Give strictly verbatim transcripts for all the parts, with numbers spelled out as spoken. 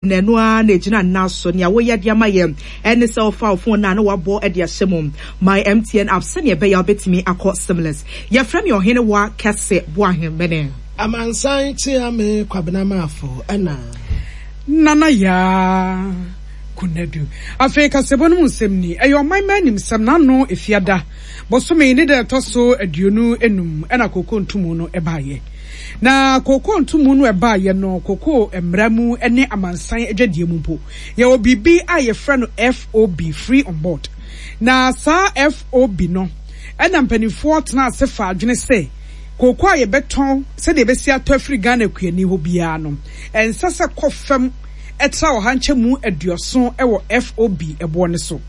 Na ɛno ara na ɛgyina nna so. Nea woyɛ de ama yɛn ɛne sɛ wofa wo phone no a na wabɔ de ahyɛ mu My M T N app sɛnea ɛbɛyɛ a wobɛtumi akɔ seamless. Yɛfrɛ me Ɔhene Wa Kɛse Boahemmene. Amansan kyea me Kwabena Maafo ɛna. Nana Yaa Konadu. Afei kasɛbɔ no mu nsɛm ni. Ɛyɛ ɔman mma animsɛm na ano Efiada bosome ne da ɛtɔ so aduonu enum ɛna kooko ntomu no ɛbaeɛ. Na kooko ntomu no ɛbaeɛ no, kooko mmara mu ne amansan adwadie mu mpo, yɛwɔ biribi a yɛfrɛ no F O B, free on board. Na saa F O B no ɛna mpanimfoɔ tena ase fa adwene sɛ kooko a yɛbɛtɔn, sɛdeɛ yɛbɛsi atɔ afiri Ghana kuani hɔ biara no, ɛnsɛ sɛ kɔ fam ɛtra ɔha nkyɛmu aduɔson ɛwɔ F O B ɛboɔ no so.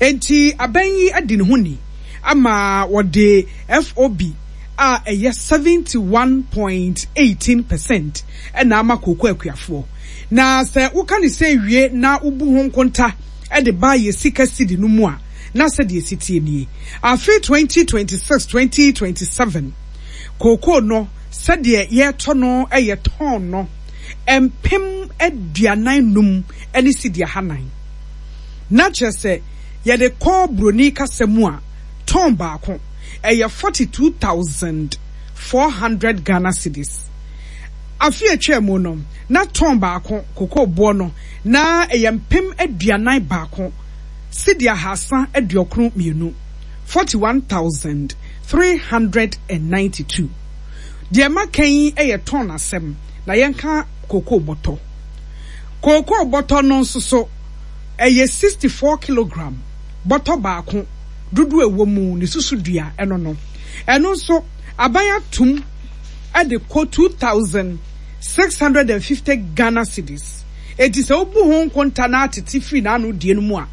Enti aban yi adi ne ho ni ama wɔde F O B a ɛyɛ seventy one point eighteen percent ɛna ama kooko akuafoɔ. Na sɛ woka ne sɛ wie na wobu ho nkonta ɛde ba yɛ sika sidi no mu a, na sɛdeɛ esi tie nie: afe twenty twenty six twenty twenty seven kooko no, sɛdeɛ yɛretɔ no, ɛyɛ tɔn no mpem aduanan num ɛne sidi ahanan. Na kyerɛ sɛ yɛde kɔ buroni kasa mu a, tɔn baako ɛyɛ forty two thousand four hundred Ghana cedis. Afe atwa mu no, na tɔn baako kooko boɔ no na ɛyɛ mpem aduanan baako sidi ahasa aduokron mmienu, forty one thousand three hundred and ninety two. Deɛ maka yi yɛ tɔn asɛm. Na yɛnka kooko bɔtɔ. Kooko bɔtɔ no nso so ɛyɛ sixty four kilogram. Bɔtɔ baako dodoɔ ɛwɔ mu ne susu dua ɛno no, ɛno nso aban atum ɛde kɔ two thousand six hundred and fifty Ghana cedis. Eti sɛ wobu ho nkonta na atete firi n'ano die no mu a,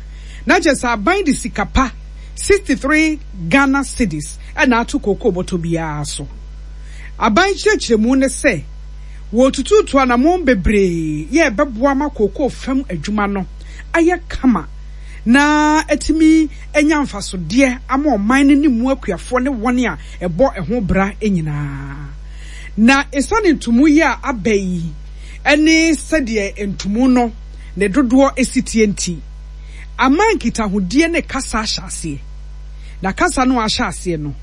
na kyerɛ sɛ aban de sika pa sixty three Ghana cedis ɛna ato kooko bɔtɔ biara so. Aban kyerɛkyerɛmu ne sɛ wɔtututu anammɔn bebree yɛ ɛbɛboa ma kooko fam adwuma no ayɛ kama na atumi anya mfasodeɛ ama ɔman no ne mu akuafoɔ ne wɔn a ɛbɔ ɛho bra nyinaa. Na esiane ntomu yi a aba yi ne sɛdeɛ ntomu no ne dodoɔ esi tie nti, ama nkitahodie ne kasa ahyɛ aseɛ. Na kasa no ahyɛ aseɛ no,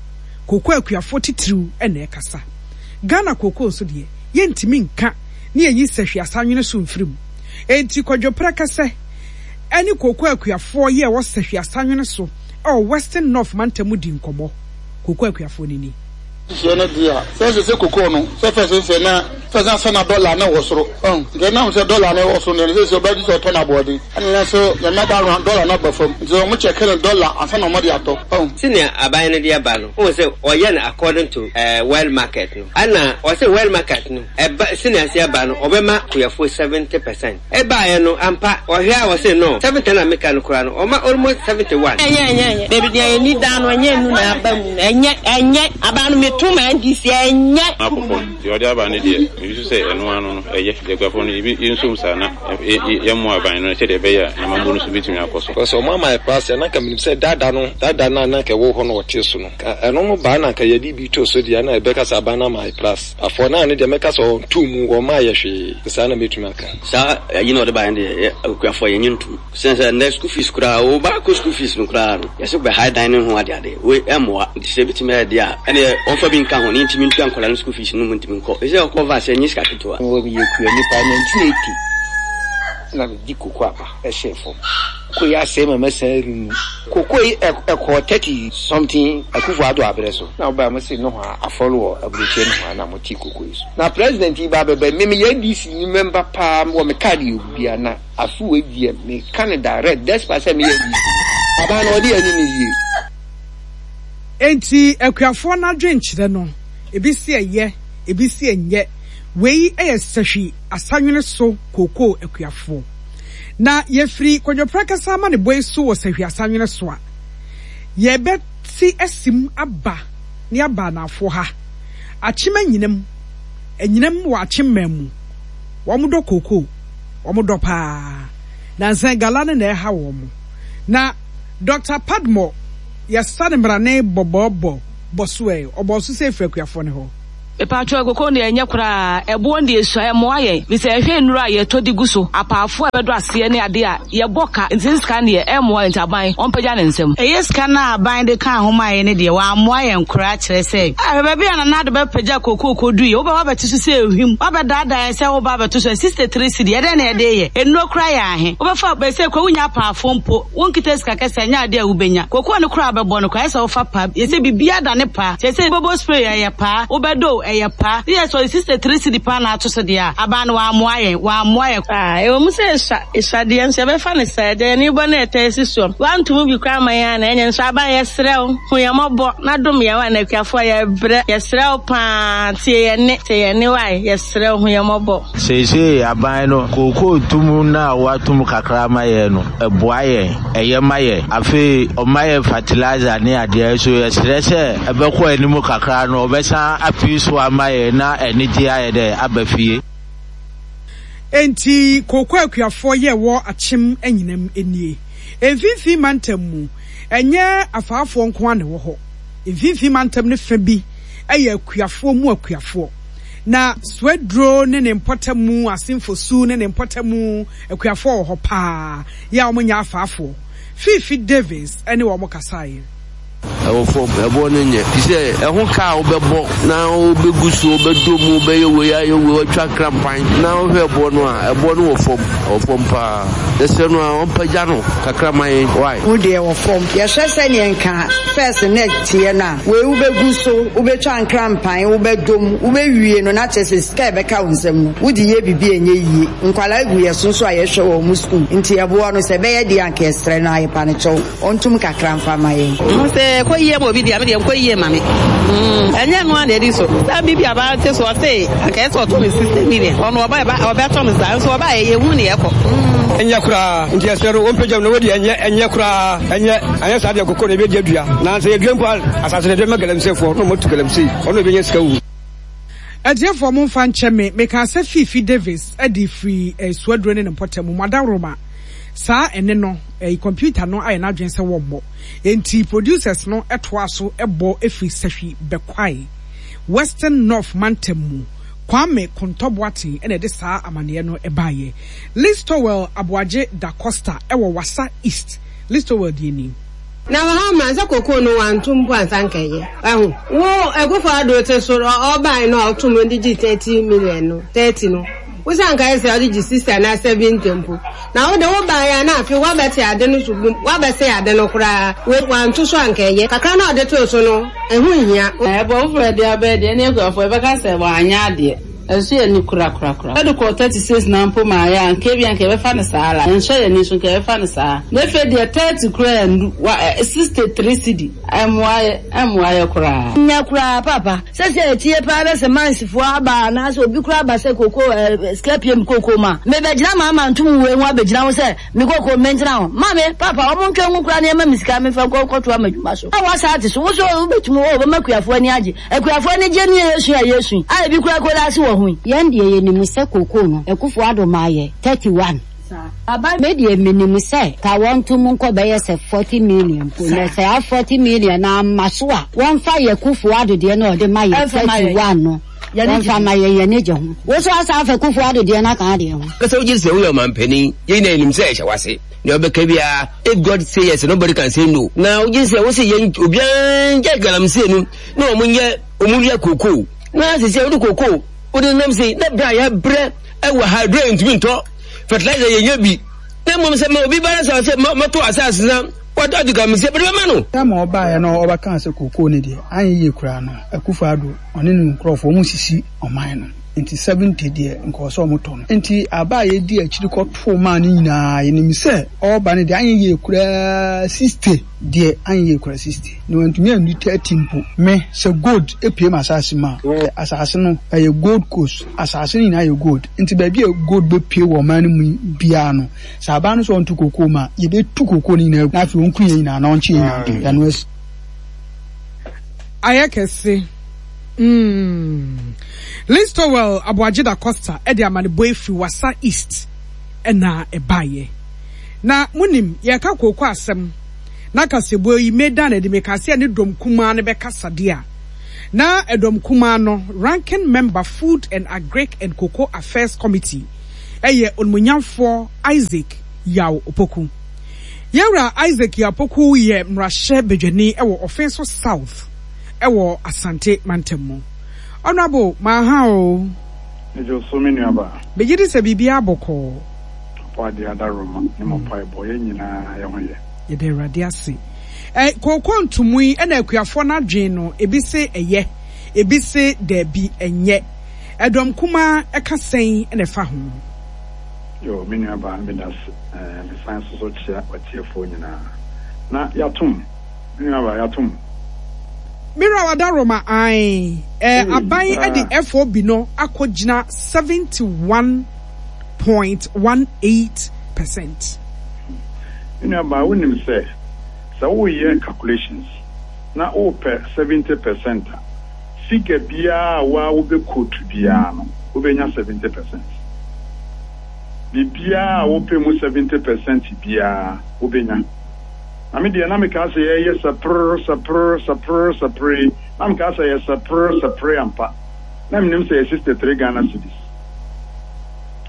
kooko akuafoɔ titiriw na ɛkasa. Ghana kooko nso deɛ, yɛntumi nka ne yɛnyi Sɛhwi Asanwene so mfiri mu. Enti Kwadwoprɛ kɛsɛ ɛne kooko akuafoɔ yi a ɛwɔ Sɛhwi Asanwene so ɛwɔ Western North mantam di nkɔmmɔ. Kooko akuafoɔ no ni. Hyɛ no deɛ a sɛ sɛ sɛ kokoo no sɛ fɛ sɛ sɛ na fɛ sɛ sɛ na dɔla ne wɔ soro ɔn nti ɛnam sɛ dɔla ne wɔ soro no sɛ sɛ ɔbɛgye sɛ ɔtɔ no aboɔden, ɛna na so yɛmɛ da no dɔla no aba fam, nti ɔmo kyɛkɛ no dɔla ansa na ɔmo de atɔ ɔn. Sɛnea aban no de aba no, wohu sɛ ɔyɛ no according to uh, world market no, ɛna ɔsɛ world market no ɛba sɛnea ase aba no, ɔbɛma kuafoɔ seventy percent. Ɛbaeɛ no ampa, ɔhwɛ a ɔsɛ no seventy na meka no koraa no, ɔma almost seventy one. Ɛnyɛ, ɛnyɛ, ɛnyɛ beebi deɛ yɛni dan no, ɛnyɛ nu na aba mu no, ɛnyɛ, ɛnyɛ aba no meto ma N D C, ɛnyɛ. Akɔ fam deɛ ɔde aba no deɛ, mebi so sɛ ɛno ano no ɛyɛ deɛ akuafoɔ no ebi yɛnsom saa na yɛmmoa aban no sɛdeɛ ɛbɛyɛ a n'amammuo no so bɛtumi akɔ so. Because ɔmo ama yɛ plus na nka menim sɛ dada no dada no a na nka ɛwɔ hɔ no ɔte so no, ka ɛno no baa na nka yɛde bi to so deɛ, na ɛbɛka sɛ aban no ama yɛ plus afɔ naa no deɛ, mɛka sɛ ɔnto mu ɔma yɛ hwee saa na mɛtumi aka. Saa ayi na ɔde baeɛ no deɛ, akuafoɔ yɛnyɛ ntom sɛn sɛ nnɛ school fees koraa, wo ba kɔ school fees no koraa no, yɛsɛ bɛ hae dan ne ho adeade wei ɛmmoa. Nti sɛ ebitumi ayɛ deɛ a, ɛneɛ ɔmfa bi nka ho ne ntumi ntua nkɔla no school fees no mu ntumi nkɔ ɛsɛ ɔkɔ va sɛ ɛnyɛ sika ketewa. Wɔ meyɛ kua nipa nineteen eighty na medi koko aba ɛhyɛ fam. Koko yi asɛe ma mɛsan renu koko yi ɛkɔɔ thirty something. Akufo Ado abrɛ so na ɔbaa mo se no hɔ a afɔre wɔ aburokyire no hɔ a na mo te koko yi so na president yi ba bɛbɛ me meyɛ N D C ni member paa wɔ me card yɛ obia na afe wɔ deɛ meka no direct despite sɛ meyɛ N D C aban na ɔde ani ne yie. Enti akuafoɔ no adwenkyerɛ no, ebi si ɛyɛ, ebi si ɛnyɛ. Wei yɛ Sɛhwi Asanwene so kookoo akuafoɔ. Na yɛfiri Kwadwoprɛ kɛsɛ ama ne bɔ yi so wɔ Sɛhwi Asanwene so a, yɛbɛte asim aba ne aba anafoɔ ha Akyem Anyinam. Anyinam wɔ Akyem man mu, wɔn dɔ kookoo, wɔn dɔ paa. Nansan gala no na ɛha wɔn. Na Doctor Padmore yɛsa ne mmarane bɔbɔɔbɔ bɔ so ɛ ɔbɔ so sɛ efiri akuafoɔ ne hɔ. Mepakyɛw koko no deɛ ɛnyɛ koraa, ɛboɔ no deɛ esua, ɛmmoa yɛn, fisɛ ɛhwɛ nnuro a yɛtɔ de gu so, apaafoɔ a ɛbɛdɔ aseɛ ne adeɛ a yɛbɔ ka, nti ne sika no deɛ ɛmmoa yɛn nti aban ɔmpagya ne nsam. Ɛyɛ sika no a aban de kaa ho maa yɛn no deɛ wammoa yɛn koraa, kyerɛ sɛ, ah, hwɛ baabi a Nana Addo bɛpagya kookoo kɔduiɛ, wobɛ woabɛte so sɛ ehwim, woabɛdaadaa yɛn sɛ woreba abɛto so ɛ, sixty three cedi, ɛdɛn na yɛde reyɛ? Nnuro koraa yɛ ahe? Wobɛfa, bɛsɛ koraa wonnya apaafoɔ mpo, wonkita sika kɛseɛ a, ɛnyɛ adeɛ a wobɛnya. Kookoo no koraa a wobɛbɔ no koraa, ayɛ sɛ wofa paa, yɛ sɛ biribiara dane paa. Kyerɛ sɛ wobɛbɔ spray ɛyɛ paa, wobɛdɔ o, ɛyɛ paa. Ne yɛ sɛ ɔde sixty three cedi paa na ato so deɛ a, aban no wammoa yɛn, wammoa yɛn. Ah, ɛwɔ mu sɛ esua, esua deɛ nso yɛbɛfa no saa, agya yɛn ani bɔ na ɛtaa si soɔ. Woanto mu bi koraa amma yɛn a na ɛnyɛ nso aban yɛsrɛ wo, hu yɛn mmɔbɔ na dom yɛn wai, na akuafoɔ yɛbrɛ, yɛsrɛ wo paa, tie yɛn nne, tie yɛn nne wai, yɛsrɛ wo hu yɛn mmɔbɔ. Seesei aban no, kookoo tum no a wɔatom kakra ama yɛn no, ɛboa yɛn, ɛyɛ ma yɛn. Afei ɔma yɛn fertilizer ne adeɛ nso yɛsrɛ sɛ ɛbɛkɔ anim kakra no, ɔbɛsan apue so ama yɛn na anigyeɛ ayɛ dɛ aba fie. Enti kooko akuafoɔ yɛ wɔ Akyem anyinam nie. Mfimfini mantam mu, ɛnyɛ afaafoɔ nko ara na ɛwɔ hɔ. Mfimfini mantam no fa bi yɛ akuafoɔ mu akuafoɔ. Na Swedru ne ne mpɔtamu, Asenfosu ne ne mpɔtamu akuafoɔ wɔ hɔ paa, yɛ a wɔnyɛ afaafoɔ. Fiifi Davis ne wɔn kasaeɛ. Ɛwɔ fam, ɛboɔ no nyɛ. Te sɛ ɛho ka a wobɛbɔ na wobɛgu so, wobɛdɔ mu, wobɛyɛ wei ayɛ wei, watwa krampan na wohwɛ ɛboɔ no a, ɛboɔ no wɔ fam, ɛwɔ fam paa. Yɛsrɛ no a ɔmpagya no kakra ma yɛn, why? Wo deɛ wɔ fam. Yɛhwɛ sɛdeɛ nka first na ɛteɛ no a, wei wobɛgu so, wobɛtwa nkrampan, wobɛdɔ mu, wobɛwie no na kyerɛ sɛ sika a ɛbɛka wo nsam no, wode yɛ biribi a ɛnyɛ yie. Nkwadaa gu yɛn so nso a yɛhwɛ wɔn sukuu, nti ɛboɔ no sɛ ɛbɛyɛ deɛ a anka yɛsrɛ no a yɛpa no kyɛw. Ɔntum kakra mfa mma yɛn. Mehu sɛ ɛkɔ yie ma obi deɛ, me deɛ nkɔ yie ma me. Ɛnyɛ ɛno ara na ɛdi so. Saa biribi a aba te so ɔse anka ɛsɛ ɔtɔ me sixty million. Ɔno ɔba ɛba ɔbɛtɔ me saa nso ɔba yɛ yɛhu ne ɛkɔ. Ɛnyɛ koraa nti yɛsrɛ no ɔmpagya mu na wadi ɛnyɛ ɛnyɛ koraa ɛnyɛ anyɛ saa deɛ koko na ɛbɛdi adua na sɛ yɛdua mpo a asase no yɛde bɛma galamseyfoɔ na wɔatu galamsey ɔno na ɔbɛnya sika wu. Atiefoɔ momfa nkyɛ me, mekaa sɛ Fiifi Davis de firi Suaduro ne ne mpɔtam mu, Adaworoma. Saa ɛnne no, ɛyi kɔmputa no ayɛ n'adwene sɛ wɔmmɔ. Enti producers no toaa so bɔ firi Sahwi Bɛkwae, Western North mantam mu. Kwame Kontɔ Boateng na ɛde saa amaneɛ no baeɛ. Listowel Aboagye Da Costa wɔ Wassa East. Listowel deɛ ni. Na wɔ ha ma sɛ kokoo no wanto mpo ansa nka ɛyɛ. Wahu? Wo Akufo Addo te so ɔbae no a ɔtom no de gyee thirty million no, thirty no, wo sɛ anka ɛsɛ ɔde gye sixty anaa seventy mpo. Na wo de wo bae a na afei woabɛte ade no so bum, woabɛsɛe ade no koraa. Wei wanto so anka ɛyɛ. Kakra no a ɔde too so no, ɛho nhia. Ɛbɔ foforɔ de aba deɛ ne akuafoɔ yɛbɛka sɛ wanyɛ adeɛ. Ɛnso yɛn ani kura kura kura. Ɛde kɔɔ thirty six na mpo maa yɛ a nka ebia nka yɛbɛfa no saa ara. Ɛnsɔ yɛn ani so nka yɛbɛfa no saa. Na afei deɛ thirty koraa andu wa ɛ sixty three cedi. Ɛmmoa yɛ, ɛmmoa yɛ koraa. Nyɛ koraa paapa. Sɛsɛ ɛteɛ paa na sɛ mines foɔ aba anaasɛ obi koraa aba sɛ kookoo ɛɛ sika pie me kookoo mu a, mebɛgyina maa mantom wei ho abɛgyina ho sɛ me kookoo mentena ho. Maame, paapa, wɔn ntwa ngu koraa na yɛma me sika memfa nkɔ nkɔtoa m'adwuma so. A w'asaate so, wo nso wobɛtumi, oo, bɛma akuafoɔ ani agye. Akuafoɔ ani gye ne yɛsu a yɛsu yi, a ebi koraa kɔda ase wɔ ho yi. Yɛn deɛ yɛnim sɛ kookoo no Akufo Addo maa yɛ thirty one. Me deɛ menim sɛ ka wɔnto mu nkɔ bɛyɛ sɛ forty million mpo na saa forty million no amma so a wɔmfa yɛ Kuffo Addo deɛ no a ɔde ma yɛ thirty one no wɔmfa ma yɛn yɛn ani gye ho. Wo nso asan afa Kuffo Addo deɛ no aka adeɛ ho. Kasa wogye di sɛ woyɛ ɔmanpanin, yɛn nyinaa yɛnim sɛ ɛhyɛ w'ase. Nea ɔbɛka biara, if God say yes, nobody can say no. Na wogye di sɛ wose yɛn obiara ngyae galamsey no na wɔn nyɛ wɔn wia kookoo. Na sisi a wode kookoo wode nam sei na bere a yɛabrɛ ɛwɔ ha aduro yɛntumi ntɔ fertilizer yɛnyɛ bi na mmom sɛ ma obi ba na sɛ ɔsɛ mɛto asase na watɔ adi galamsey bɛde bɛma no. Time a ɔbaeɛ no ɔbɛkaa sɛ kookoo no deɛ anyɛ yie koraa no Akufo Addo ɔne ne nkurɔfoɔ wɔn sisi ɔman no nti seventy deɛ nka ɔsɛ wɔn tɔ no nti aba a yɛdi akyiri kɔtoo maa no nyinaa yɛnim sɛ ɔreba no deɛ anyɛ yie koraa sixty deɛ anyɛ yie koraa sixty na wantumi annu thirty mpo me sɛ gold pue m'asase mu a asase no ɛyɛ gold coast asase no nyinaa yɛ gold nti baabi a gold bɛpue wɔ ɔman no mu biara no sɛ aban no sɛ ɔnto kokoo mu a yɛbɛtu kokoo no nyinaa agu na afei ɔnku yɛn nyinaa na ɔnkye yɛn nyinaa nto yɛn ano asi. Ayɛ kɛse. Mm. Listowel Aboagye Da Costa de amanebɔ yi firi Wassa East na ɛbaeɛ. Na monim, yɛreka kooko asɛm na kaseɛbɔ yi medan no adi, mekaa sɛ yɛne dɔm kumaa no bɛkasa deɛ a, Na ɛdɔm kumaa no Ranking Member Food and Agric and Cocoa Affairs Committee yɛ Onimuonyamfoɔ Isaac Yaw Opoku. Yɛn Wura Isaac Yaw Opoku yɛ mmarahyɛ badwani wɔ Offinso South wɔ Asante mantam mu. Honourable, maha o. Megye wo so me nuabaa. Megye di sɛ biribiara bɔkɔɔ. Ɔbɔadeɛ adaworoma ne mo mpaebɔ, yɛn nyinaa yɛn ho yɛ. Yɛda Awurade ase. Ɛ, kooko ntomu yi ɛna akuafoɔ no adwene no, ebi se ɛyɛ, ebi se daabi, ɛnyɛ. Ɛdɔm kumaa ɛka sɛn na ɛfa ho? Yoo, me nuabaa, medase. Ɛɛ, mesan nso so kyea w'atiefoɔ nyinaa. Na yɛatom, me nuabaa, yɛatom. Me wura Wadaroma, ae, ɛ, Ei, aban saa. de F O B no akɔgyina seventy-one point one eight percent. Me nuabaa, wonim sɛ, sɛ woreyɛ calculations na worepɛ seventy percent a, figure biara a woa wobɛ quote biara no, wobɛnya seventy percent. Biribiara a wopɛ mu seventy percent biara, wobɛnya. Na me deɛ, na mekaa sɛ yɛyɛ sɛprr sɛprr sɛprr sɛprr yi, na mekaa sɛ yɛ sɛprr sɛprr ampa. Na menim sɛ yɛ sixty-three Ghana cedis.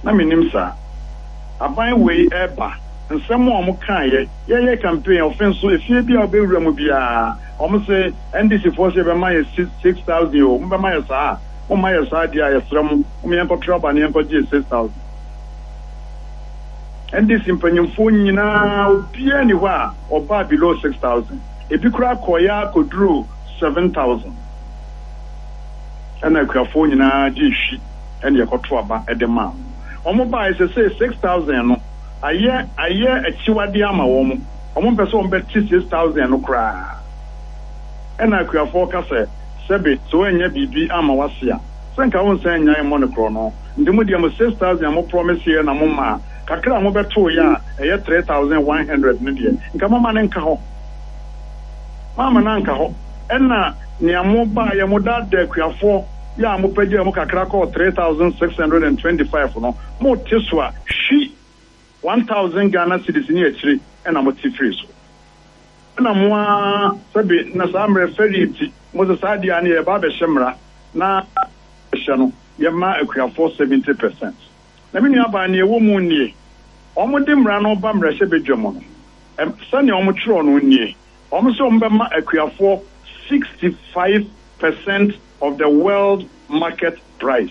Na menim saa. Aban wei ɛreba, nsɛm a wɔn kaeɛ, yɛyɛ campaign, ɔfe nso, efie bi a wobɛwura mu biara, wɔn se N D C foɔ sɛ yɛbɛma yɛ six thousand o, mobɛma yɛ saa a, momma yɛ saa deɛ a, yɛsrɛ mo, mo yɛnkɔto aba na yɛnkɔgye yɛ six thousand. N D C mpanyinfoɔ nyinaa, obiara ni hɔ a ɔbaa below six thousand. Ebi koraa kɔɔeɛ akɔduru seven thousand. Ɛna akuafoɔ nyinaa gye hwi ɛna yɛkɔto aba ɛde maa wɔn. Wɔn baa sɛ sɛ six thousand no ayɛ ayɛ akyiwadeɛ ama wɔn. Wɔn mpɛ sɛ wɔn bɛte six thousand no koraa. Ɛna akuafoɔ ka sɛ, sɛbe, sɛ wɔanya biribi ama wase a, sɛ nka wɔn nsan nyan mmɔ ne korɔ no. Nti mo deɛ, mo six thousand a mo promise yɛ na mo ma kakra a mo bɛto yɛ a ɛyɛ three thousand one hundred no deɛ, nka mo ma ne nka hɔ. Maama na nka hɔ. Ɛna nea mo baa yɛ, mo daadaa akuafoɔ yɛ a mo pagya mu kakra kɔɔ three thousand six hundred and twenty-five no, mo te so a hwi one thousand Ghana cedis ne akyire ɛna mo te firi so. Ɛna mo a sɛbi na saa mmerɛ fɛri nti mo sɛ saa deɛ a ne yɛba abɛhyɛ mmara na hyɛ no, yɛma akuafoɔ seventy percent. Na me nua baa, nea ɛwɔ mu nie: wɔn de mmara no ba mmarahyɛ badwa mu no, ɛm sɛnea wɔn twerɛ no nie, wɔn sɛ wɔn bɛma akuafoɔ sixty five percent of the world market price,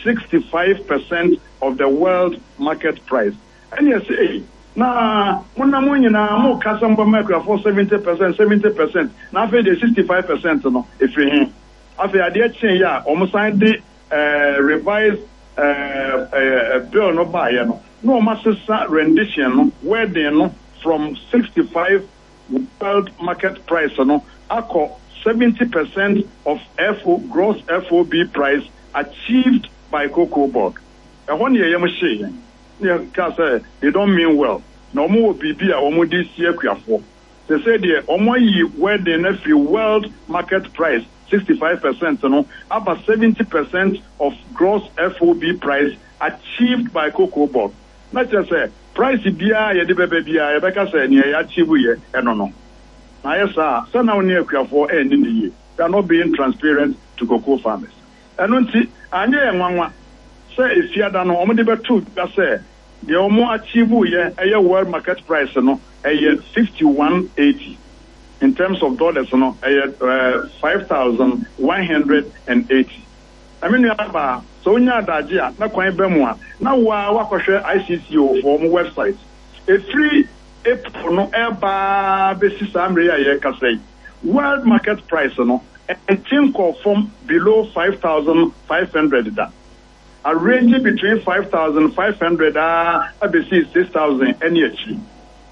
sixty five percent of the world market price. Ɛna ɛsɛ eyi na mo na mo nyinaa mo kasa mo bɛma akuafoɔ seventy percent, seventy percent, na afei de sixty five percent no efiri he? Afei adeɛ kyɛn yi a wɔn san de ɛɛ revise ɛɛ ɛɛ bill no baayɛ no, na wɔn asesa rendition no, wording no, from sixty five world market price no akɔ seventy percent of F O gross F O B price achieved by Cocoa Board. Ɛhɔ ne yɛyɛ mo hyee yɛn ne yɛ kaa sɛ they don't mean well, na wɔn wɔ biribi a wɔn de si akuafoɔ sɛ sɛ deɛ wɔn ayi wording no afiri world market price sixty five percent no aba seventy percent of gross F O B price achieved by Cocoa Board. Na kyerɛ sɛ price biara yɛde bɛbɛ biara, yɛbɛka sɛ nea yɛ achieve yɛ ɛno no. Na ayɛ saa sɛ na wo ne akuafoɔ ɛnni ne yie. They are not being transparent to cocoa farmers. Ɛno nti anyɛ yɛ nwanwa sɛ efiada no wɔn de bɛto dwa sɛ deɛ wɔn achieve yɛ ɛyɛ world market price no ɛyɛ fifty one eighty. In terms of dollars no, ɛyɛ ɛɛ five thousand one hundred and eighty. Na me nua baa, sɛ wonya adagye a na kwan bɛ mu a, na waa wakɔhwɛ I C C O foɔ mo website. Efiri April no ɛbaa bɛsi saa mmerɛ yi a yɛrekasa yi, world market price no ɛnte nkɔ fam below five thousand five hundred da. Arrange between five thousand five hundred aa abɛsi six thousand ɛne akyiri.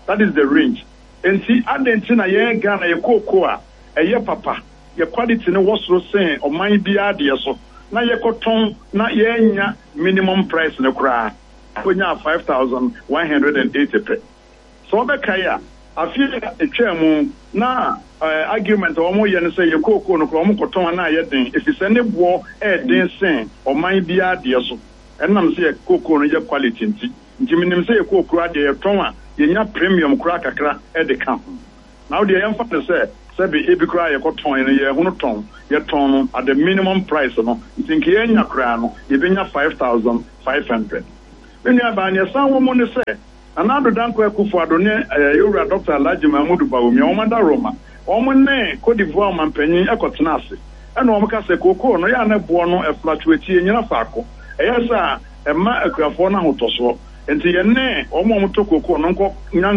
That is the range. Nti adɛn nti na yɛn Ghana yɛ kooko a ɛyɛ papa, yɛ quality no wɔ soro sen ɔman biara deɛ so, na yɛkɔtɔn na yɛnya minimum price no koraa konya five thousand one hundred and eighty pɛ? Sɛ wɔbɛkae a, afe a etwa mu na ɛɛ argument a wɔn yɛ no sɛ yɛ kooko no koraa wɔn kɔtɔn na ayɛ den, efisɛ ne boɔ ɛɛden sen ɔman biara deɛ so, ɛnam sɛ yɛ kooko no yɛ quality nti. Nti minim sɛ yɛ kooko adeɛ yɛtɔn a, yɛnya premium koraa kakra ɛde ka ho. Na wo deɛ, yɛmfa no sɛ Sɛbe ebi koraa a yɛkɔtɔn no, yɛhunu tɔn, yɛtɔn no at the minimum price no, nti nka yɛanya koraa no, yɛbɛnya five thousand five hundred. Me nuabaa, nea ɛsan wɔ mu ne sɛ, Nana Addo Dankwa Akufo-Addo ne Yɛwura Dɔkta Alhaji Mahmudu Bawumia, wɔn adaworoma, wɔn ne Cote d'Ivoire ɔmanpanyin kɔtena ase, ɛna wɔka sɛ kookoo no, yɛ a na boɔ no fluctuate, ɛnnyina faako, ɛyɛ saa a, ɛmma akuafoɔ no ahotɔsoɔ. Enti yɛne wɔn a wɔtɔ kookoo no nkɔ nya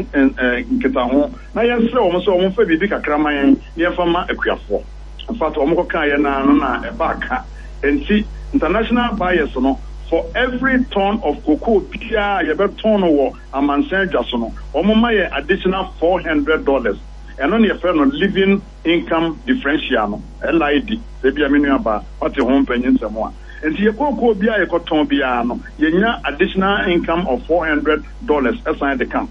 nkitaho na yɛnsrɛ wɔn sɛ wɔmfa biribi kakra mma yɛn na yɛmfa mma akuafoɔ. In fact, wɔkɔkaeɛ no ara no na ɛbaa ka. Enti international buyers no, for every ton of cocoa biara a yɛbɛtɔn no wɔ amansan dwa so no, wɔma yɛn additional four hundred dollars. Ɛno na yɛfrɛ no living income differential no, L I D, sɛ ebia me nuabaa wate ho mpanyinsɛm a. Nti yɛ kookoo biara a yɛkɔtɔn biara no, yɛnya additional income of four hundred dollars ɛsan de ka ho.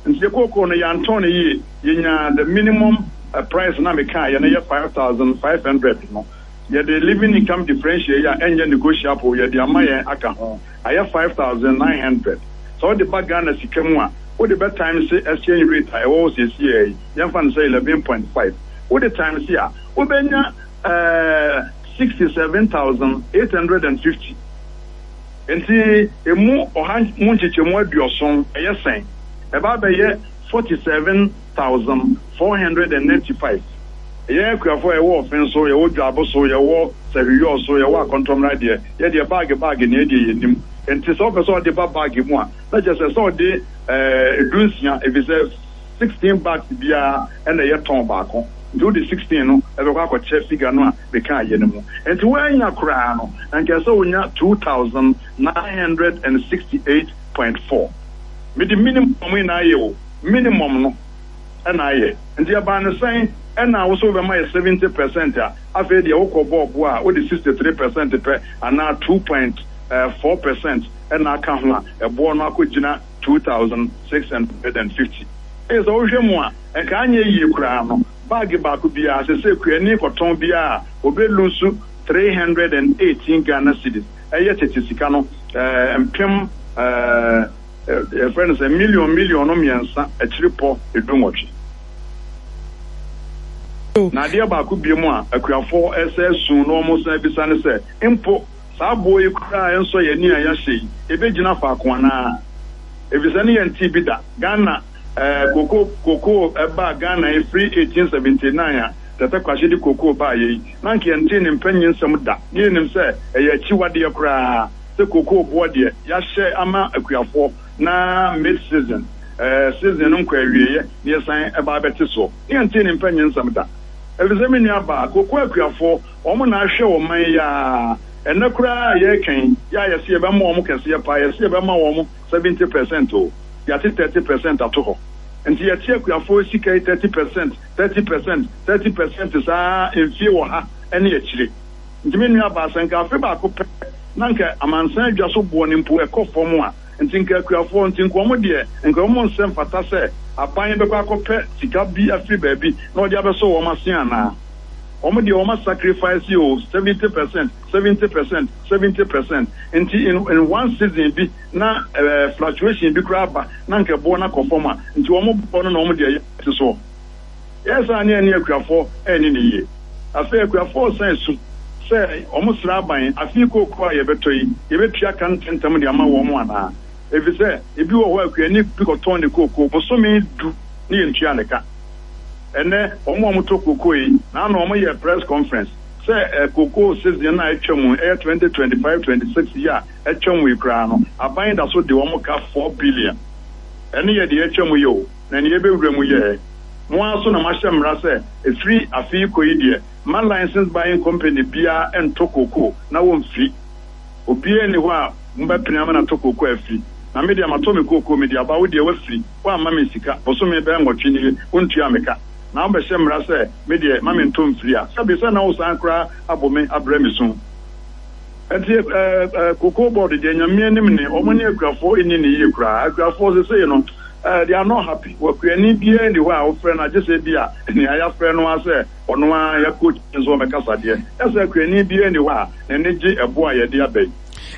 Nti yɛ kookoo no, yɛantɔn no yie, yɛnya the minimum price na mekaeɛ no yɛ five thousand five hundred no, yɛde living income differential yi a ɛnyɛ negotiable yɛde ama yɛn aka ho, ayɛ five thousand nine hundred. Sɛ wode ba Ghana sika mu a, wode bɛ times exchange rate a ɛwɔ hɔ seesei yi, yɛmfa no sɛ eleven point five, wode times a, wobɛnya ɛɛ sixty seven thousand eight hundred and fifty. Nti emu ɔha mu nkyekyɛmu aduɔson ɛyɛ sɛn? Ɛba abɛyɛ forty seven thousand four hundred and ninety five. Yɛn akuafoɔ a yɛwɔ Ɔfen so, yɛwɔ Dwaabo so, yɛwɔ Sahwiyɔɔ so, yɛwɔ Akɔntɔmmra deɛ, yɛdeɛ bag bag ne yɛdeɛ yɛnim. Nti sɛ wopɛ sɛ ɔde ba bag mu a, na kyerɛ sɛ sɛ ɔde ɛɛ du nsia, efisɛ sixteen bags biara ɛna ɛyɛ tɔn baako. Nti wode sixteen no ɛbɛkɔ akɔkyɛ figure no a meka ayɛ no mu. Nti woanya koraa no, nka sɛ wonya two thousand nine hundred and sixty eight point four. Mede minimum yi na ayɛ o, minimum no ɛna ayɛ. Nti ɛbaa no sɛn ɛna wo so wobɛma yɛ seventy percent a, afei deɛ wokɔ bɔɔbo a, wode sixty three percent pɛ anaa two point four percent ɛna aka ho a, ɛboɔ no akɔgyina two thousand six hundred and fifty. Ɛyɛ sɛ wohwɛ mu a, nka anyɛ yie koraa no, bag baako biara sɛ sɛ kuani kɔtɔn biara a, obɛlose three hundred and eighteen Ghana cedis. Ɛyɛ tete sika no ɛɛ mpem ɛɛ yɛfrɛ no sɛ million million no mmiɛnsa akyiri pɔ edu nwɔtwe. Na adeɛ baako bie mu a akuafoɔ ɛsɛ sun na wɔn san bisa ne sɛ, mpo saa aboɔ yi koraa ɛnsɔ yɛn ani a yɛahyɛ yi, ebɛgyina faako anaa? Efisɛ ne yɛn ti bi da Ghana ɛɛ koko koko ɛbaa Ghana efiri eighteen seventy nine a Tɛtɛ Kwahye de koko baa yɛ yi, na nka yɛn ti ne mpanyin nsɛm da ne yɛnim sɛ ɛyɛ akyiwadeɛ koraa sɛ koko boɔ deɛ yɛahyɛ ama akuafoɔ na mid season ɛɛ season no nkɔ awieɛ ne yɛsan ɛba abɛte soɔ. Ne yɛn ti ne mpanyin nsɛm da, efisɛ me nua baa, koko akuafoɔ wɔn na ahwɛ wɔn man yi a ɛnɛ koraa yɛrekɛn yɛ a yɛsɛ yɛbɛma wɔn kɛseɛ paa. Yɛsɛ yɛbɛma wɔn seventy percent o, yɛate thirty percent ato hɔ. Nti yɛte akuafoɔ sika yi thirty percent, thirty percent, thirty percent saa mfie wɔ ha ɛne akyire. Nti me nua baa, sɛ nka afe baako pɛ na nka amansan adwa so boɔ no mpo ɛkɔ fam a, nti nka akuafoɔ nti nka wɔn deɛ nka wɔn nsɛm fata sɛ aban bɛkɔ akɔpɛ sika bi afiri baabi na ɔde abɛsɔ wɔn ase anaa? Wɔn deɛ wɔn sacrifice o, seventy percent, seventy percent, seventy percent. Nti in in one season bi na ɛɛ uh, fluctuation bi koraa ba na nka ɛboɔ no akɔ fam a, nti wɔn bɔ no na wɔn deɛ yɛ te soɔ. Yɛ saa ne ɛne akuafoɔ ɛne ne yie. Afei akuafoɔ san su sɛ wɔn sra aban, afei kooko a yɛbɛtɔ yi, yɛbɛtua ka ntɛntɛm de ama wɔn anaa? Efisɛ ebi wɔ hɔ a, akuani bi kɔtɔn ne kooko bosome du ne yɛntua ne ka. Ɛnɛ wɔn a wɔtɔ kooko yi na ano wɔn yɛ press conference sɛ ɛ kooko season na atwa mu, ɛyɛ twenty twenty five twenty six yi a atwa mu yi koraa no, aban da so de wɔn ka four billion. Ɛne yɛ deɛ atwa mu yɛ o, na nea yɛbɛwura mu yɛ mo ara so na mahyɛ mmara sɛ efiri afe yi kɔ yi deɛ, ma license buying company biara ntɔ kooko na wɔmfiri. Obiara ni hɔ a mobɛpene ama no atɔ kooko afiri. Na me deɛ, matɔ me kooko, mede aba, wo deɛ wafiri, woamma me sika. Bosome bɛyɛ nwɔtwe nie, wontua me ka, na wobɛhyɛ mmara sɛ me deɛ ma mentɔ mfiri a, sɛbe sɛ na wo san koraa abɔ me abrɛ me so. Nti ɛɛ cocoa Board deɛ, Nyame anim ne ɔmo ne akuafoɔ ɛni ne yie koraa. Akuafoɔ sesei no ɛɛ they are not happy. Wakuani biara ni hɔ a wofrɛ no, agye sɛ bi a nea yɛafrɛ no a sɛ ɔno ara yɛkɔ nso ɔmɛkasa deɛ, ɛsɛ akuani biara ni hɔ a n'ani gye ɛbo a yɛde aba yi.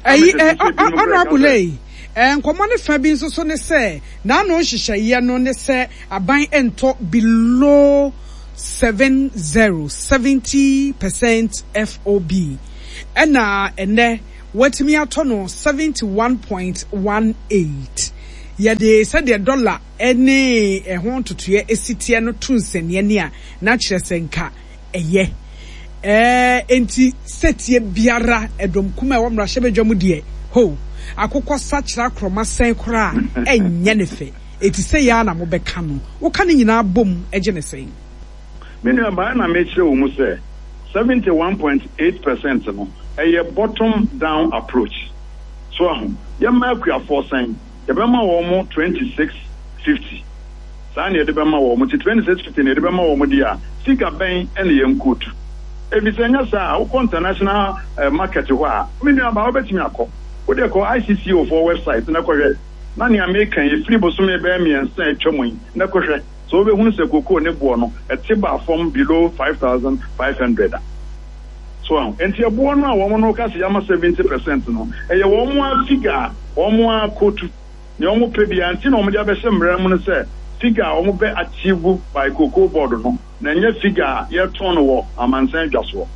Ɛyi ɛ honourable yi, nkɔmɔ ne fa bi nso so ne sɛ n'ano nhyehyɛeɛ no ne sɛ aban ntɔ below seven zero seventy percent F O B, ɛna ɛnɛ watumi atɔ no seventy one point one eight. Yɛde sɛdeɛ dɔla ɛne ɛho ntotoeɛ esi teɛ no to nsɛnniɛ a, na kyerɛ sɛ nka ɛyɛ ɛɛ nti sɛtie biara ɛdɔm kum a ɛwɔ mmarahyɛbadwa mu deɛ ho akokɔ sakyera korɔma sɛn koraa, ɛnyɛ ne fɛ. Eti sɛ yɛa na mobɛka no, woka ne nyinaa bom, ɛgye ne sɛn? Me nua baa, na mekyerɛ wɔ mu sɛ seventy one point eight percent no, ɛyɛ bottom down approach. So aho yɛma akuafoɔ sɛn? Yɛbɛma wɔn mo twenty six fifty. Saa na yɛde bɛma wɔn mo. Ti twenty six fifty na yɛde bɛma wɔn mo deɛ a, sika bɛn ɛna yɛn kootu? Ebi sɛ nyɛ saa, wokɔ international uh, market hɔ a, me nua baa, wobɛtumi akɔ. Wode kɔ I C C O foɔ website na kɔhwɛ, na nea meka yi firi bosome bɛyɛ mmiɛnsa a atwa mu yi na kɔhwɛ sɛ wobɛhunu sɛ kokoo ne boɔ no ɛte ba fam below five thousand five hundred a. So aho nti ɛboɔ no a wɔn no ka sɛ yɛama seventy percent no, ɛyɛ wɔn a figure a wɔn a kotu nea wɔn pɛ bia. Nti na wɔn de abɛhyɛ mmerɛ mu no sɛ figure a wɔn bɛ achieve by Cocoa Board no, na ɛnyɛ figure a yɛtɔn no wɔ amansan dwa soɔ.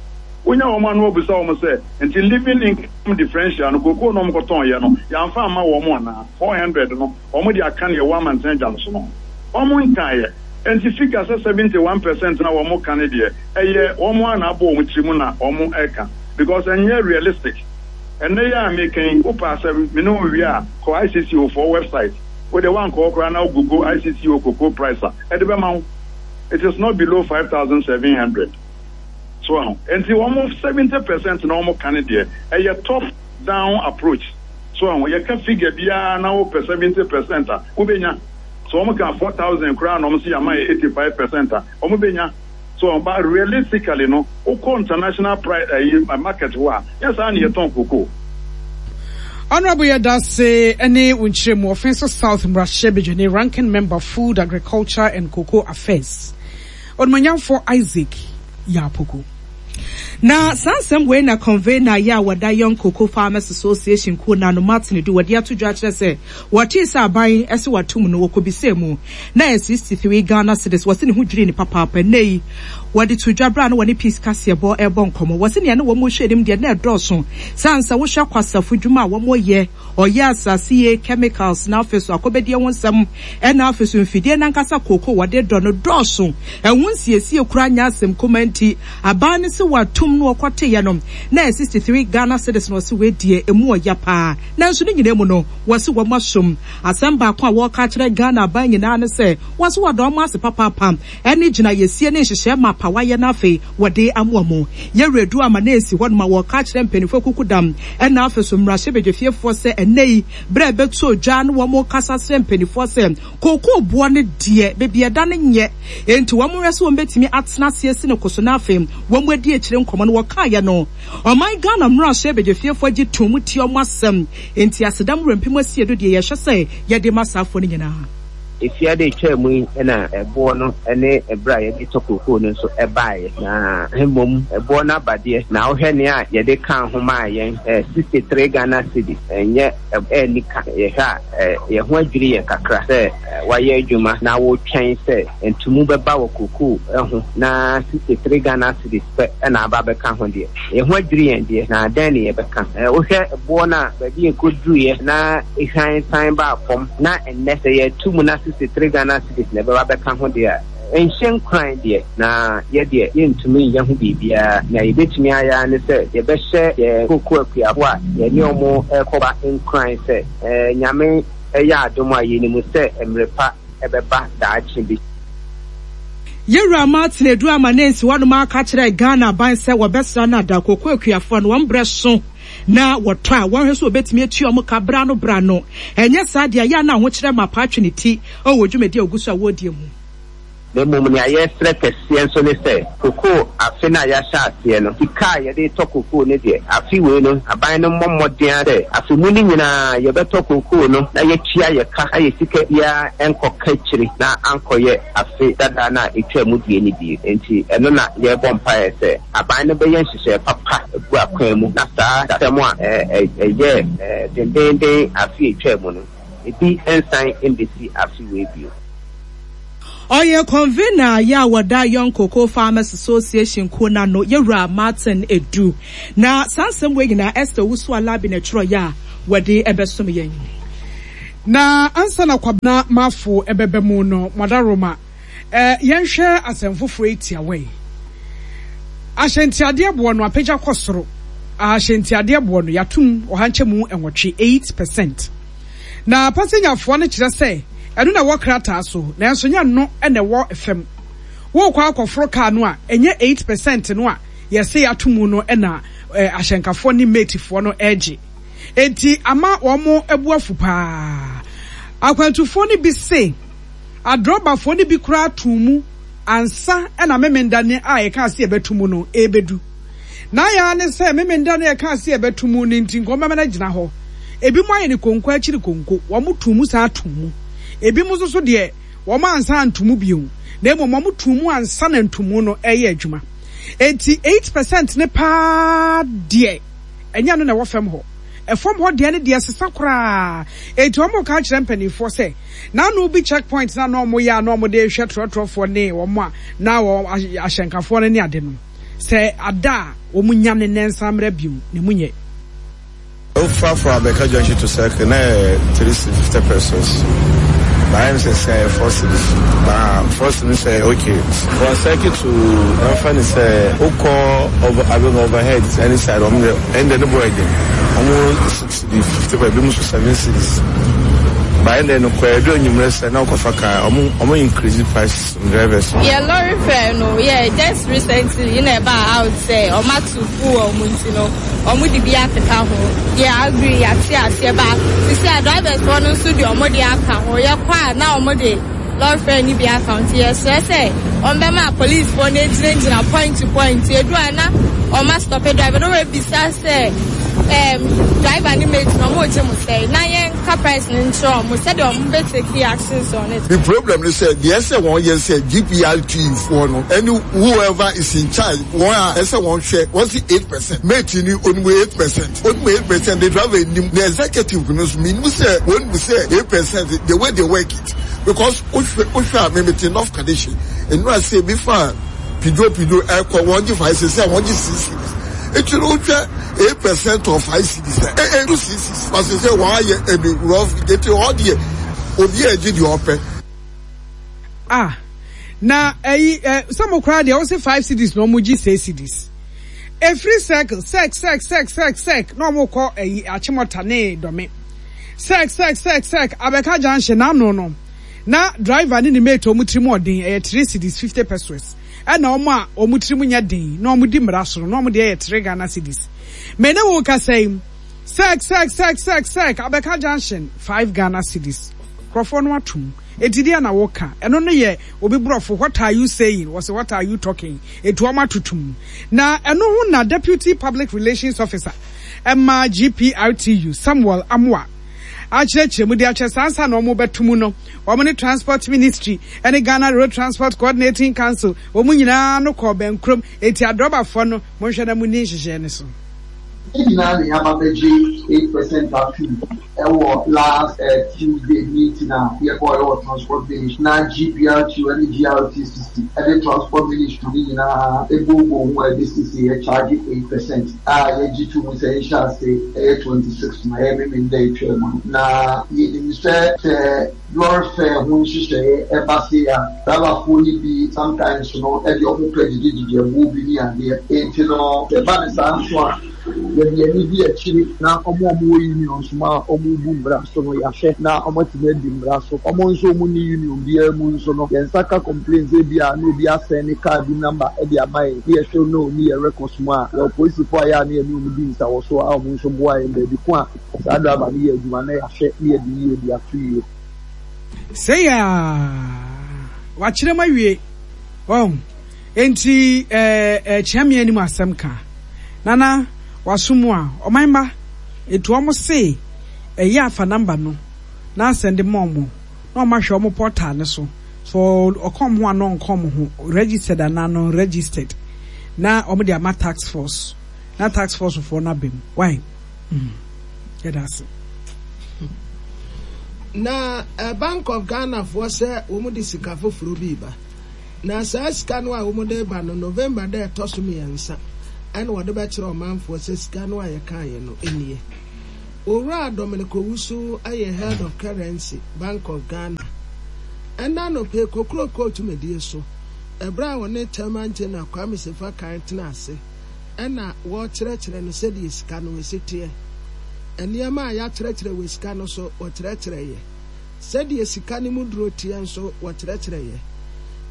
Wonya wɔn ano abusa wɔn sɛ, nti living income differential no, kokoo na wɔn kɔtɔn yɛ no, yɛamfa ama wɔn anaa? Four hundred no, wɔn de aka nea ɛwɔ amansan dwa no so no, wɔn nkaeɛ. Nti figure sɛ seventy one percent na wɔn ka no deɛ, ɛyɛ wɔn a na abɔ wɔn tiri mu na wɔn ɛka, because ɛnyɛ realistic. Ɛnɛ yɛ a meka yi, wopɛ asɛ me ne wo wie a, kɔ I C C O foɔ website. Wode wankɔ koraa na google I C C O cocoa price a, ɛde bɛma wo. It is not below five thousand seven hundred. So aho nti wɔn seventy percent na wɔn ka no deɛ, ɛyɛ top down approach. So aho yɛka figure biara na wopɛ seventy percent a, wobɛnya. So wɔn ka four thousand koraa na wɔn si ama yɛ eighty five percent a, wɔn bɛnya. So but realistically no, wokɔ international price ɛyi market hɔ a, yɛ saa na yɛtɔn cocoa. Honorable, yɛda ne wo nkyerɛmu. Ɔfɛn South mmarahyɛbadwani, Ranking Member, Food, Agriculture and Cocoa Affairs, Ɔnumanyamfo Isaac Yaw Poku. Na saa nsɛm wei na convener yɛ a wɔda Young Cocoa Farmers Association kuo na no Martin Du wɔde ato dwa kyerɛ sɛ wɔtee sɛ aban ɛsɛ watom no, wɔkɔbisɛ mu na yɛ sixty-three Ghana cedis. Wɔse ne ho dwiri ne papaapa. Nnɛ yi wɔde to dwa berɛ a na wɔne Peace kaseɛbɔ ɛrebɔ nkɔmmɔ. Wɔse nea ne wɔn hwɛ anim deɛ na ɛdɔɔso saa nsa wohwɛ kwasafo dwuma a wɔn yɛ, ɔyɛ asase yie, chemicals, na afei so akɔbɛdie ho nsɛm, ɛna afei so mfidie nankasa kooko wɔde dɔ no dɔɔso, ɛho nsiesie kura nya asɛm kuma. Nti aban no sɛ watum no, wɔkɔteeɛ no na yɛ sixty-three Ghana cedis na wɔsi wɔadie emu ɔya paa. Nanso ne nyinaa mu no, wɔsi wɔn asom. Asɛm baako a wɔreka kyerɛ Ghana aban nyinaa ne sɛ wɔsi wɔdɔ wɔn ase papaapa ɛne gyina yɛsie ne nhyehyɛ mapa wayɛ. No afei wɔde amoa mu yɛwura ama na esi hɔ nom a wɔreka kyerɛ mpanimfoɔ kuku dam, ɛna afei so mmarahyɛbadwafiefoɔ sɛ ɛnɛ yi berɛ a ɛbɛto dwa no, wɔn kasa kyerɛ mpanimfoɔ sɛ kookoo boɔ no deɛ, beebi ɛda no nyɛ, enti wɔn rɛ sɛ wɔn bɛtumi atena ase asi ne koso. Na afei wɔn adi akyire nkɔmɔ no, wɔkaeɛ no, ɔman Ghana mmarahyɛbadwafiefoɔ gye tom tie wɔn asɛm. Enti asedam wura mpem asie do deɛ, yɛhwɛ sɛ yɛde ma saafoɔ no nyinaa. Efiada etwa mu yi na ɛboɔ no ne ɛberɛ a yɛde tɔ kookoo no nso ɛbaeɛ, na mmom ɛboɔ no abadeɛ na wohwɛ nea a yɛde ka ho maa yɛn sixty three Ghana cedis, ɛnyɛ ɛni ka. Yɛhwɛ a, yɛn ho adwiri yɛn kakra sɛ wayɛ adwuma na wɔretwɛn sɛ ntumu bɛba wɔ kookoo ho na sixty three Ghana cedis pɛ ɛna aba abɛka ho deɛ, yɛn ho adwiri yɛn deɛ, na dɛn ne yɛbɛka? Wohwɛ boɔ no a baabi yɛkɔduruiɛ na ehwan san baa fam, na ɛnnɛ sɛ yɛtu mu na sixty three Ghana cedis na ɛbɛba bɛka ho deɛ a, nhyɛ nkuran deɛ, na yɛdeɛ yɛntumi nyɛ ho biribiara. Na yɛbɛtumi ayɛ ne sɛ yɛbɛhyɛ yɛn koko akuafo a yɛne ɔmo ɛkɔba nkuran sɛ ɛɛ Nyame ɛyɛ adom a, yɛnim sɛ mmerɛ pa ɛbɛba daakye bi. Yɛwura Martin Edu ama ne nsi hɔnom aka kyerɛ Ghana aban sɛ wɔbɛsra no ada koko akuafoɔ no wɔn brɛ so na wɔtɔ a, wɔn hwɛ so wɔbɛtumi atua wɔn ka bra no bra no. Ɛnyɛ saa deɛ, yɛ a na ahokyerɛ ma paatwe ne ti ɛwɔ dwumadi a ogu so a wɔredie mu. Na mmom nea yɛsrɛ kɛseɛ nso ne sɛ kokoo afe no a yɛahyɛ aseɛ no, sika a yɛde tɔ kokoo no deɛ, afe wei no aban no mmɔ mmɔden sɛ afe mu no nyinaa yɛbɛtɔ kokoo no na yɛtua yɛ ka na yɛ sika biara nkɔka akyiri na ankɔyɛ afe dada no a ɛtwa mu die no bie. Nti ɛno na yɛrebɔ mpaeɛ sɛ aban no bɛyɛ nhyehyɛe papa agu akwan mu na saa asɛm a ɛyɛ dendenden afe etwa mu no, ebi nsan mbɛsi afe wei bio. Ɔyɛ convener yɛ a wɔda Young Cocoa Farmers Association kuo no ano, Yɛwura Martin Adu. Na saa nsɛm wei nyinaa Esther Owusu Alabi na ɛtwerɛeɛ a wɔde ɛbɛsom yɛn. Na ansa na Kwabena Marfo ɛbɛba mu no, Mwadaroma, eh, yɛnhwɛ asɛm foforɔ yi tiawa yi. Ahyɛntiadeɛ boɔ no apagya kɔ soro. Ahyɛntiadeɛ boɔ no, yɛatom ɔha nkyɛmu nwɔtwe, eight percent. Na pasenyafoɔ no kyerɛ sɛ ɛno na ɛwɔ krataa so, nanso nyɛ ɛno na ɛwɔ fam. Worekɔ akɔforo kaa no a, ɛnyɛ eight percent no a yɛse yɛato mu no na ahyɛnkafoɔ ne matefoɔ no regye. Enti ama wɔn bo afu paa. Akwantufoɔ no bi se adrɔbafoɔ no bi koraa too mu ansa na Memenda no a yɛkaa se yɛbɛto mu no rebɛdu. N'ayɛ ara ne sɛ Memenda no a yɛkaa se yɛbɛto mu no nti nka wɔbɛma no agyina hɔ. Ebinom ayɛ no konko akyiri konko, wɔtoo mu san too mu. Ebinom nso so deɛ, wɔansan anto mu bio, na mmom wɔtoo mu ansa na ntomu no reyɛ adwuma. Enti eight percent no paa deɛ, ɛnyɛ ɛno na ɛwɔ fam hɔ. Ɛfam hɔ deɛ no deɛ ɛsesa koraa. Enti wɔreka akyerɛ mpanimfoɔ sɛ, n'ano bi check point no a na wɔyɛ a na wɔde rehwɛ trɔtrɔfoɔ ne wɔn a na wɔn ahyɛnkafoɔ no ne ade no, sɛ ada a wɔnya ne nan nsan mmra bio na emu nyɛ. Wofa from Abeka Junction to Circle na yɛ three cedis fifty pesos. But I'm say say four cedis. But four cedis say okay. From Circle to ɛmfa ne sɛ wokɔ over abɛn overhead any side ɔmo de ɛnde ne boy de ɔmo six cedis fifty pesos ebi mo so seven cedis. But ɛnde no kɔ ɛdu enyimrɛ sɛ na wokɔfa car ɔmo ɔmo increase price drivers. Yeah, lorry fare no, yeah, just recently you know about out say ɔmo ato fuel ɔmo nti no ɔmo de bi akeka ho. Yeah, agree, yate aseɛ ba. Sisi a drivers foɔ no nso de ɔmo de aka ho. Yɛkɔ a na ɔmo de lorry fare ni bi aka ho. Nti yɛsrɛ sɛ ɔmo bɛma police foɔ no gyinagyina point to point. Edu a na ɔmo astop driver no wɔabisa sɛ um, driver ne mate no ɔmo gye mo sɛ na yɛn ka price no nkyerɛ ɔmo sɛdeɛ ɔmo bɛ take actions on it. The problem is sɛ deɛ ɛsɛ wɔn yɛ sɛ G P R T foɔ no ɛne whoever is in charge wɔn a ɛsɛ wɔn hwɛ wɔn si eight percent mate ni onimu eight percent onimu eight percent the driver nim the executive no so minim sɛ wɔn mu sɛ eight percent the way they work it because wohwɛ wohwɛ a mímí enough condition nnura sɛ ebi fa pido pido ɛkɔ wɔn gye five six wɔn gye six cedis eti no wohwɛ eight percent of five cedis ɛ ɛ two six six pasi sɛ wɔn ayɛ ɛbi rough eti hɔ deɛ obi a ɛgye deɛ ɔpɛ. Ah, na ɛyi ɛ sɛ mo koraa deɛ wɔsi five cedis na wɔn gye six cedis efiri circle sec sec sec sec sec na wɔn kɔ ɛyi Achimota ne Dɔme sec sec sec sec Abeka junction n'ano no na driver ne ne mate wɔn tiri mu ɔden ɛyɛ three cedis fifty pesos ɛna wɔn a wɔn tiri mu nyɛ den na wɔn di mmara so no na wɔn deɛ yɛ three Ghana cedis mɛ ne wo kasa yi sec sec sec sec sec Abeka junction five Ghana cedis nkurɔfoɔ no atum. Eti deɛ na woka ɛno no yɛ obi borɔfo what are you saying wɔsɛ what are you talking etu ɔmo atotum na ɛno ho na deputy public relations officer ɛma G P R T U Samuel Amoa akyerɛkyerɛ mu de akyerɛ saa nsa na ɔmo bɛto mu no wɔn ne transport ministry ɛne Ghana Road Transport Coordinating Council wɔn nyinaa no kɔɔ bɛnkurom eti adrɔbafoɔ no monhwɛ na mo ni nhyehyɛ ne so. Nyinaa na yɛaba bɛgye eight percent atum ɛwɔ last uh, Tuesday meeting a yɛkɔɔ ɛwɔ transport ministry na G P R T U ne G R T C C ɛde transport ministry ne nyinaa ebobo ho a ɛde sisi yɛ charge eight percent a yɛgye to mu sɛ yɛhyɛ ase ɛyɛ twenty six na ɛyɛ Memenda etwa mu no na yɛnim sɛ sɛ lorry fare ho nhyehyɛeɛ ɛba se a driverfoɔ no bi sometimes no ɛde ɔmo pɛ gyegyegyegye ɛboɔ bi ne adeɛ enti no ɛba ne saa nso a yɛde yɛn ani di akyiri na ɔmo a ɔmo wɔ union so ma ɔmo bu mmara so no yɛahwɛ na ɔmo atumi adi mmara so ɔmo nso ɔmo ni union biara mu nso no yɛn nsa ka complaints ebi a na obi asɛn ne car bi number ɛde ama yɛn ne yɛhwɛ no ne yɛ records mu a yɛwɔ polisifoɔ a yɛ a ne yɛne ɔmo di nsawɔ so a ɔmo nso boa yɛn baabi ko a saa driver no yɛ adwuma na yɛahwɛ ne yɛde yie de ato yie. Sɛ yɛ wakyerɛ mu awie ɔn enti ɛɛ ɛkyea mi anim asɛm ka nana waso mu a ɔman mma etu ɔmo se ɛyɛ afa number no na asɛnde ma ɔmo na ɔmo ahwɛ ɔmo portal ne so so ɔkɔ ɔmo ho ano ɔnkɔ ɔmo ho registered anaa non registered na ɔmo de ama task force na task force foɔ no abɛm why mm yɛda ase. Na Bank of Ghana foɔ sɛ wɔn de sika foforɔ bi reba. Na saa sika no a wɔn de reba no, November da a ɛtɔ so mmiɛnsa ɛna wɔde bɛkyerɛ ɔmanfoɔ sɛ sika no a yɛkaeɛ no nie. Owura Dominic Owusu yɛ Head of Currency, Bank of Ghana. Ɛnnɛ anɔpa yi, Kokrokoo dwumadie so, ɛberɛ a ɔne Chairman General Kwame Sefa Kan tenaa ase ɛna wɔrekyerɛkyerɛ no sɛdeɛ sika no si teɛ. Nneɛma a yɛakyerɛkyerɛ wɔ sika no so, wɔkyerɛkyerɛeɛ. Sɛdeɛ sika no mu duro teɛ nso, wɔkyerɛkyerɛeɛ.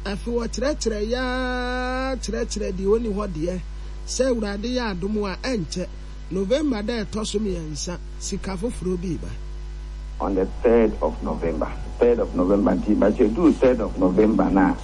Afei wɔkyerɛkyerɛeɛ ara kyerɛkyerɛɛ deɛ ɔnni hɔ deɛ, sɛ Awurade yɛ adom a, ɛnkyɛ, November da a ɛtɔ so mmiɛnsa, sika foforɔ bi reba. On the third of November, third of November nti, but yɛduu third of November no a,